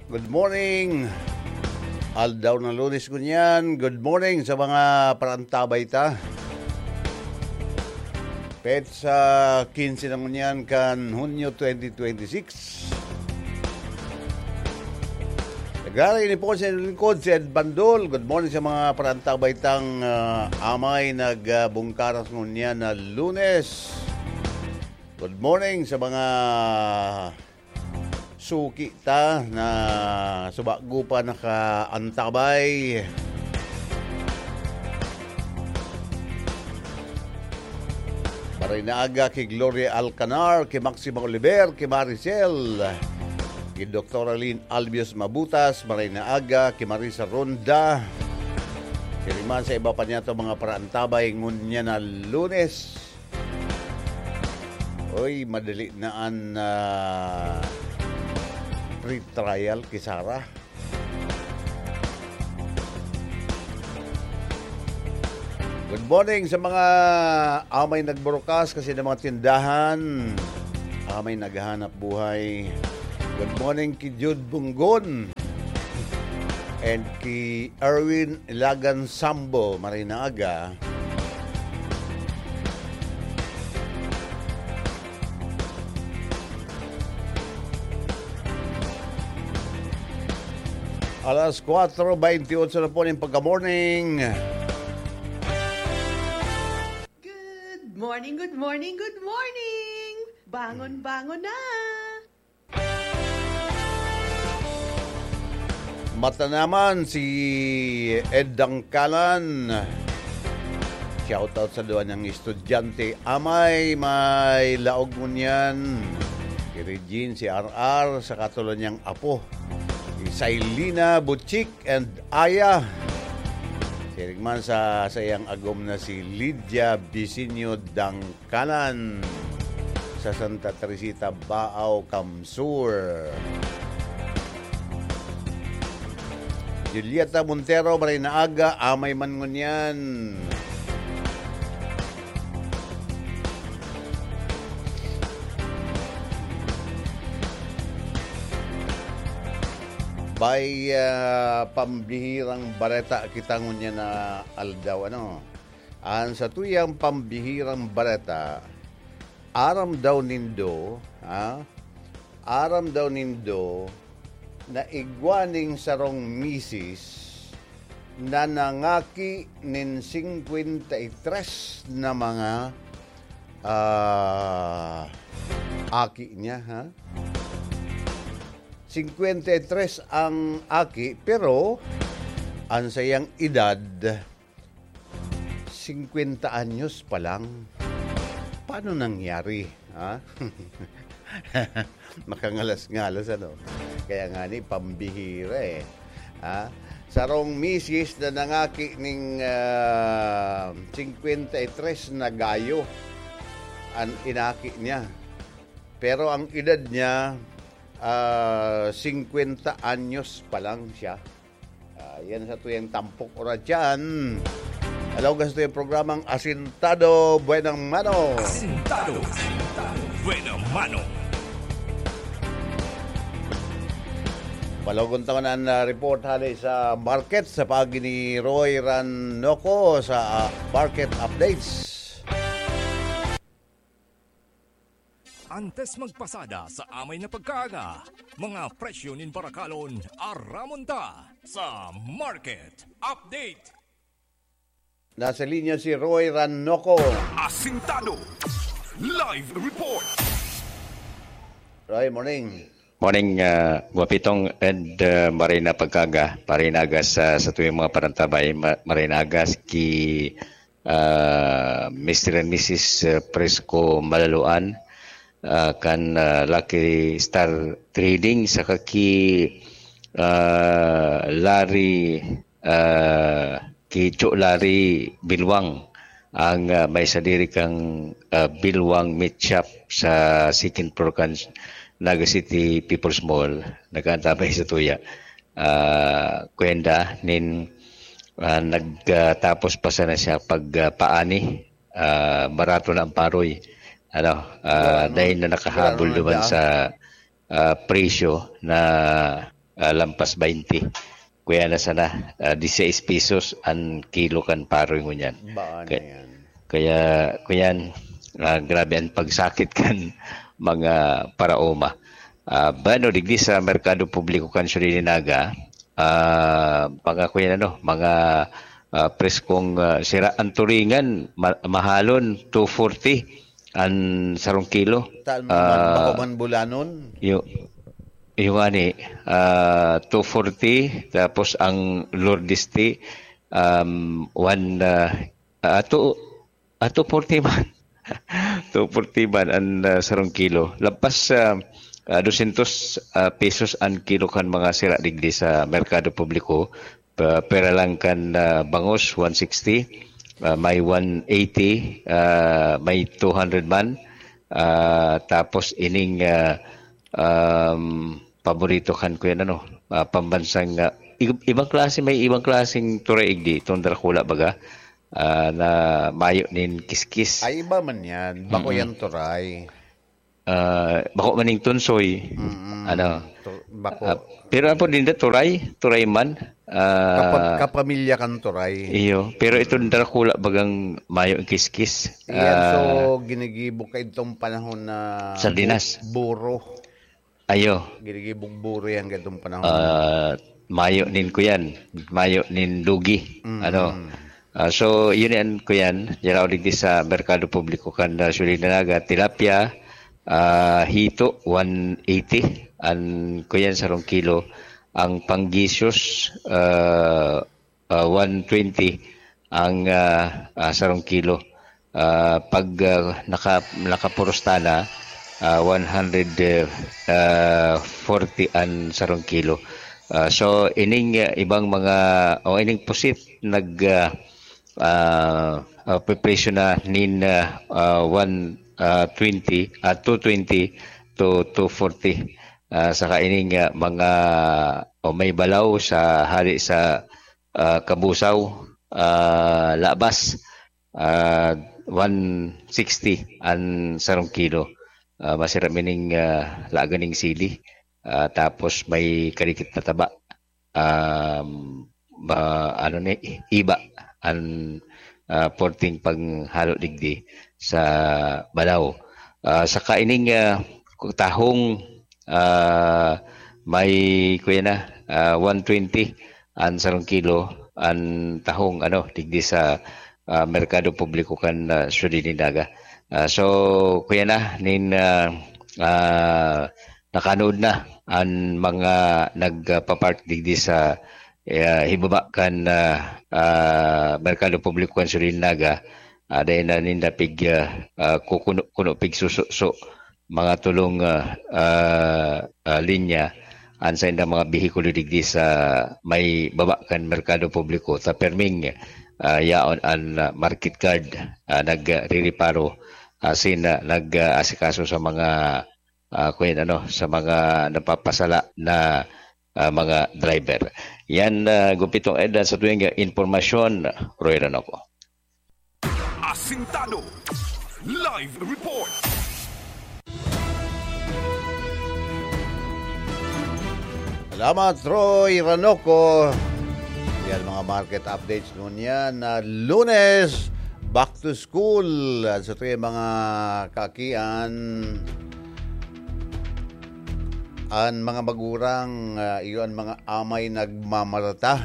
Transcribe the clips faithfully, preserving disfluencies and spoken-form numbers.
Good morning. Aldaw na Lunes ngunyan. Good morning sa mga parantabay ta. Petsa quince na ngunyan kan Hunyo twenty twenty-six. Nagararay ni po sa lingkod, si Ed Bandol. Good morning sa mga parantabay tang, ah, amay nagbungkaras ngunyan na Lunes. Good morning sa mga suki ta na subago pa nakaantabay. Maray na aga ki Gloria Alcanar, ki Maxima Oliver, ki Maricel, ki Doktora Lynn Albios Mabutas, maray na aga ki Marisa Ronda. Siring man sa iba pa niyato mga paraantabay ngunyan na Lunes. Oy, madali na an, ah, pre-trial ki Sarah. Good morning sa mga amay nagburukas kasi ng mga tindahan. Amay naghahanap buhay. Good morning ki Jude Bunggon and ki Erwin Ilagan Sambo. Maray na aga. Alas kwatro beintiotso na po ning pagka-morning. Good morning, good morning, good morning! Bangon, bangon na! Mata naman si Ed Dangkalan. Shoutout sa duwa niyang estudyante. Amay, may laog ngunyan. Si Regine, si R R, sa katulo niyang apo. Si Sailina, Butchik, and Aya. Siring man sa sayang agom na si Lydia Bisinyo Dangkalan. Sa Santa Teresita, Baao, Kamsur. Julieta Montero, maray na aga, amay man ngunyan. Bay, ah, pambihirang bareta kita ngunyan na aldaw, ano? An satuyang pambihirang bareta, aram daw nindo, ha? Aram daw nindo na igwa ning sarong misis na nangaki nin singkwenta y tres na mga, ah, aki niya, ha? Singkwenta y tres ang aki, pero an sayang edad, singkwenta anyos pa lang. Paano nangyari, ha? Makangalas-ngalas, ano? Kaya nga ni, pambihira, eh. Ha? Sarong misis na nangaki ning, ah, singkwenta y tres na gayo an inaki niya. Pero ang edad niya, ah, singkwenta anyos pa lang siya. Ah, yan sa tuyang tampok oras dyan. Hello, gusto yung programang Asintado Buenang Mano. Asintado. Buena mano. Palogon taon ang, ah, report hali sa market sa pagi ni Roy Ranoco sa, ah, market updates. Antes magpasada sa amay na pagkaaga, mga presyo nin barakalon aramon ta sa Market Update. Nasa linya si Roy Ranoco. Asintado. Live report. Roy, morning. Morning, uh, Guapitong and uh, Marina Pagkaga, Marina Agas uh, sa tuwing mga parantabay, Ma- Marina Agas ki uh, Mister and Missus uh, Fresco Malaluan, uh, kan uh, Lucky Star Trading, sa kaki uh, Larry, uh, ki Cho Larry Bilwang, ang uh, may sadiri kang uh, Bilwang Meat Shop sa second floor kan Naga City People's Mall, nagkaantabay sa tuya. Uh, kwenda nin uh, nagtapos pa sana siya pag uh, paani, uh, barato na ang paroy. Ano, uh, dahil na nakahabol duman sa uh, presyo na ah, lampas baynte. Kaya na sana, ah, diseis pesos an kilo kan paroy ngunyan. Baan Ka- na yan? Kaya, kuyan, ah, grabe ang pagsakit kan mga paraoma. Ah, bueno, digdi sa merkado publiko kan Surinaga, ah, mga kuyan, ano, mga, ah, preskong, ah, sira ang turingan, ma- mahalon, two forty an sarong kilo. Tal- Ah, bako man bulanon? Yo- yung ani, ah, two forty, tapos ang Lourdes tea, um, one, ah, ah, two, ah, two forty man. Two forty man an, ah, sarong kilo. Lampas sa, ah, dosyentos, ah, pesos an kilo kan mga sira digdi sa merkado publiko. Pa- pera lang kan, ah, bangus, one sixty, ah, may one eighty, ah, may two hundred man. Ah, tapos ining, ah, um, paborito kan kuyan, ano, ah, pambansang, ah, ib- ibang klase, may ibang klaseng turay igdi, itong Dracula baga, ah, na mayo nin kiskis. Ay, iba man yan. Bako Mm-mm. yan turay. Ah, bako maning tunsoy. Mm-mm. Ano? Tu- bako. Ah, pero apo din da, turay, turay man. Ah, Kapag kapamilya kan turay. Iyo, pero itong Dracula bagang mayo ang kiskis. Iyan, Ah, so, ginigibo ka itong panahon na sardinas. Bu- buro. Ayo. Ginigibo ang buro yan itong panahon. Ah, mayo nin kuyan, mayo nin lugi. Mm. Ano? Ah, so, yun yan, kuyan. Yan ako digdi sa merkado publiko kan, ah, Surinaga, tilapia, ah, hito, one eighty. An kuyan, sarong kilo. Ang panggisyos, ah, ah, one twenty ang, ah, ah, sarong kilo. Ah, pag, ah, naka- nakapuros ta na, ah, one hundred forty an sarong kilo. Ah, so, ining, ah, ibang mga, o ining pusit, nag, ah, ah, ah, pepresyo na nin, ah, ah, one, ah, twenty, ah, two twenty to two forty. Ah, saka ining, ah, mga, o may balaw sa hali sa, ah, Kabusaw, ah, Labas, ah, one sixty an sarong kilo. Ah, masira mining, ah, laga ning sili. Ah, tapos may karikit na taba. Um, ba, ano ni, iba an, ah, porting panghalo digdi sa balaw. Ah, saka ining, ah, tahong, ah, may, kuya na, ah, one twenty an sarong kilo, an tahong, ano, digdi sa, ah, merkado publiko kan, ah, Surinaga. Ah, so, kuya na, nin, ah, ah, nakanood na an mga nagpapark digdi sa, ah, hibaba kan, ah, ah, merkado publiko kan Surinaga, ah, dahil na ninda pig, ah, ah, kukuno-kuno, pigsususo, mga tulong, ah, ah, ah, linya, an saindang mga behikulo digdi sa may baba kan merkado publiko, ta perming, ah, yaon an, ah, market guard, ah, nagrireparo, asin, ah, nag-aasikaso sa mga, ah, kuyan, ano, sa mga napapasala na, ah, mga driver. Yan, ah, gupitong Ed, sa tuwing impormasyon, Roy Ranoco. Asintado. Live report. Salamat, Roy Ranoco. Yan, mga market updates ngunyan na Lunes. Back to school. At sa tuwing mga kaakian, an mga magurang, ah, iyo an mga amay nagmamarata.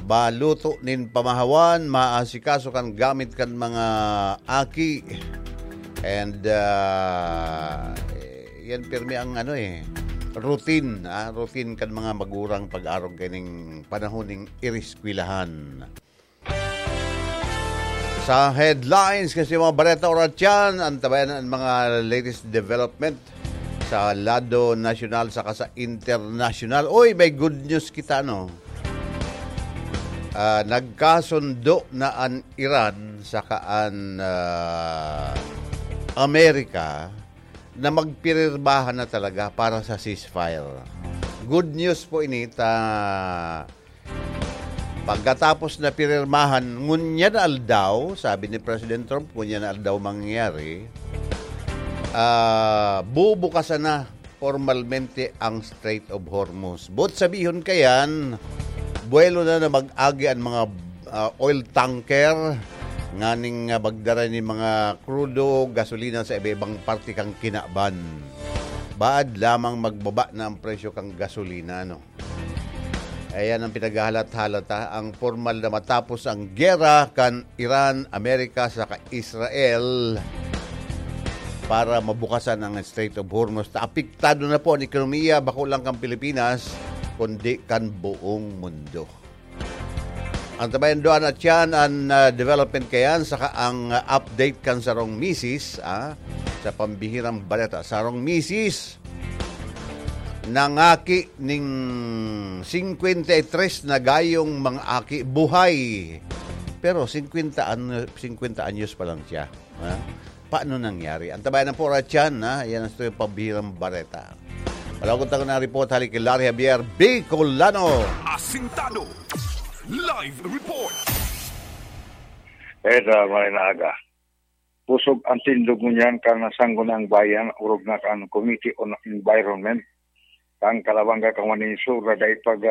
Baluto nin pamahawan, maasikaso kan gamit kan mga aki. And, ah, eh, yan pirmi ang ano eh, routine, ah, routine kan mga magurang pag-arog kaning panahon ning iriskwelahan. Sa headlines kasi mga bareta oras yan, antabayan ang mga latest development sa lado nasyonal saka sa internasyonal. Uy, may good news kita, no? Ah, nagkasundo na an Iran saka an, ah, Amerika na magpirmahan na talaga para sa ceasefire. Good news po ini ta Pagkatapos na pinirmahan, ngunyan na aldaw, sabi ni President Trump, ngunyan na aldaw mangyayari, ah, bubukasan na formalmente ang Strait of Hormuz. But sabihon kayan, buwelo na na mag-agi ang mga, ah, oil tanker nganing, ah, magdara ni mga krudo, gasolina sa iba-ibang parte kan kinaban. Baad lamang magbaba na ang presyo kan gasolina, no? Ayan ang pinaghahalat-halat, ha, ang formal na matapos ang gera kan Iran, Amerika, saka Israel para mabukasan ang Strait of Hormuz. Ta apektado na po ang ekonomiya, bako lang kan Pilipinas, kundi kan buong mundo. Ang tabayan doon at yan, ang, ah, development kayan, saka ang, ah, update kan sarong misis, ah, sa pambihirang baleta. Sarong misis, nangaki ning singkwenta y tres na gayong mga aki buhay. Pero singkwenta ano, singkwenta anyos pa lang siya. Ha? Paano nangyari? Ang tabayan ng pora tiyan, ha? Yan ang istorya pambihirang bareta. Malawag tayo na report, hali kay Larry Javier, Bicolano. Asintado. Live report. Eda, may naaga. Pusog ang tindog ngunyan kan nasanggo na ang bayan, orog na kan Committee on Environment, kan Calabanga, kan Manin Sur, na dai pag